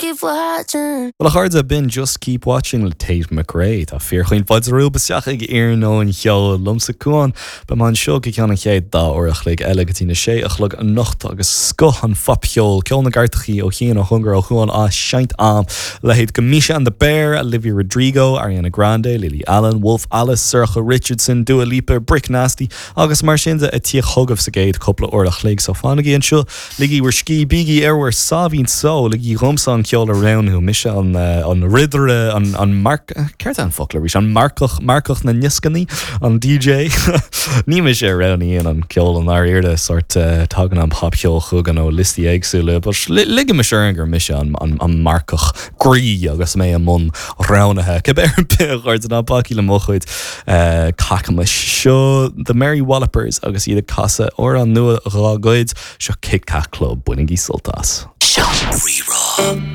keep watching. Bhuel a chairde, b'in Just Keep Watching le Tate McRae. Tá fíorchaoin fáilte romhaibh isteach ag Iarnóin Cheoil liomsa Cuán. Beidh mé anseo go ceann an chéad dá uair a chloig eile go dtí na sé a chlog anocht agus scoth an phopcheoil, ceol na gcairteachaí ó chian, ó chóngar, ó Chuan á seinnt a'm. Leithéid de Misha and the Bear, Olivia Rodrigo, Ariana Grande, Lily Allen, Wolf Alice, Sorcha Richardson, Dua Lipa, Brick Nasty agus mar sin de ag tíocht chugaibh sa gcéad cúpla uair a chloig. So fanaigí anseo. Ligigí bhur scíth, bígí ar bhur sáimhín só, ligigí dhomsa an ceol a roghnú, mise an an ridire, an an marc, céard é an focal arís, an marcach, marcach na ndioscannaí, an DJ? Ní mise a roghnaíonn an ceol i ndáiríre, sórt tagann an popcheol chugainn ó liostaí éagsúla, but ligimis orainn gur mise an an an marcach groí agus mé i mbun roghnaithe. Cibé ar bith, a chairde, ná bacaigí le mo chuid cacamais. Seo The Mary Wallopers agus iad ag casadh amhrán nua dhá gcuid, seo Kit Kat Club, bainigí sult as. Seo Rí-Rá.